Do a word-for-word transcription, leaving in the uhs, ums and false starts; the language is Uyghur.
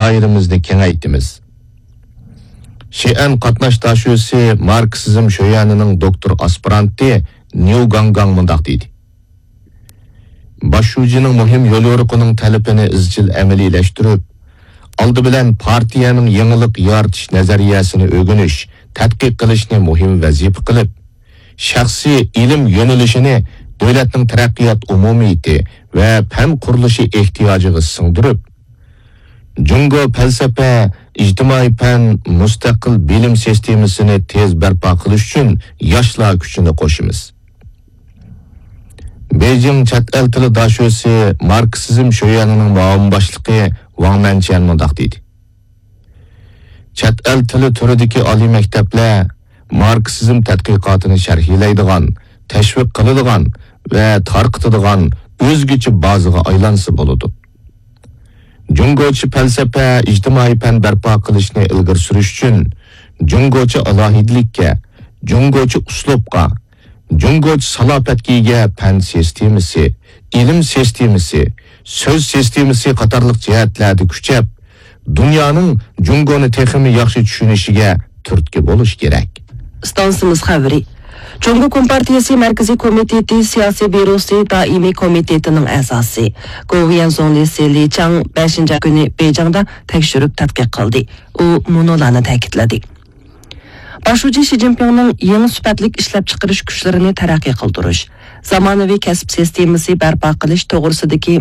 دائىرىمىزنى كېڭەيتىمىز. شىئەن قاتناش داشۆسى ماركسىزم شۆيەنىنىڭ دوكتور ئاسپىرانتى نيۇ گاڭگاڭ مۇنداق دېدى: باش شۇجىنىڭ مۇھىم يوليورۇقىنىڭ تەلىپىنى ئىزچىل ئەمەلىيلەشتۈرۈپ، ئالدى بىلەن پارتىيەنىڭ يېڭىلىق يارىتىش نەزەرىيەسىنى ئۆگىنىش، تەتقىق قىلىشنى مۇھىم ۋەزىپە قىلىپ، شەخسىي ئىلىم يۆنىلىشىنى دۆلەتنىڭ تەرەققىيات ئومۇمىيىتى ۋە پەن قۇرۇلۇشى ئېھتىياجىغا سىڭدۈرۈپ، جۇڭگو پەلسەپە، ئىجتىمائىي پەن، مۇستەقىل بىلىم سىستېمىسىنى تېز بەرپا قىلىش ئۈچۈن ياشلار كۈچىنى قوشىمىز. بېيجىڭ چەت ئەل تىلى داشۆسى ماركسىزم شۆيەنىنىڭ مۇئاۋىن باشلىقى ۋاڭ مەنچيەن مۇنداق دېدى: چەت ئەل تىلى تۈرىدىكى ئالىي مەكتەپلەر ماركسىزم تەتقىقاتىنى شەرھلەيدىغان، تەشۋىق قىلىدىغان ۋە تارقىتىدىغان ئۆزگىچە بازىغا ئايلانسا بولىدۇ. جۇڭگوچە پەلسەپە، ئىجتىمائىي پەن بەرپا قىلىشنى ئىلگىرى سۈرۈش ئۈچۈن جۇڭگوچە ئالاھىدىلىككە، جۇڭگوچە ئۇسلۇبقا، جۇڭگوچە سالاپەتكە ئىگە پەن سىستېمىسى، ئىلىم سىستېمىسى، سۆز سىستېمىسى قاتارلىق جەھەتلەردە كۈچەپ، دۇنيانىڭ جۇڭگونى تېخىمۇ ياخشى چۈشىنىشىگە تۈرتكە بولۇش كېرەك. ئىستانسىمىز خەۋىرى. جۇڭگو كومپارتىيىسى مەركىزىي كومىتېتى سىياسىي بيۇروسى دائىمىي كومىتېتىنىڭ ئەزاسى، گوۋۇيۈەن زۇڭلىسى لى چاڭ پەيشەنبە كۈنى بېيجىڭدا تەكشۈرۈپ تەتقىق قىلدى. ئۇ مۇنۇلارنى تەكىتلىدى: باش شۇجى شى جىنپىڭنىڭ يېڭى سۈپەتلىك ئىشلەپچىقىرىش كۈچلىرىنى تەرەققىي قىلدۇرۇش، زامانىۋى كەسىپ سىستېمىسى بەرپا قىلىش توغرىسىدىكى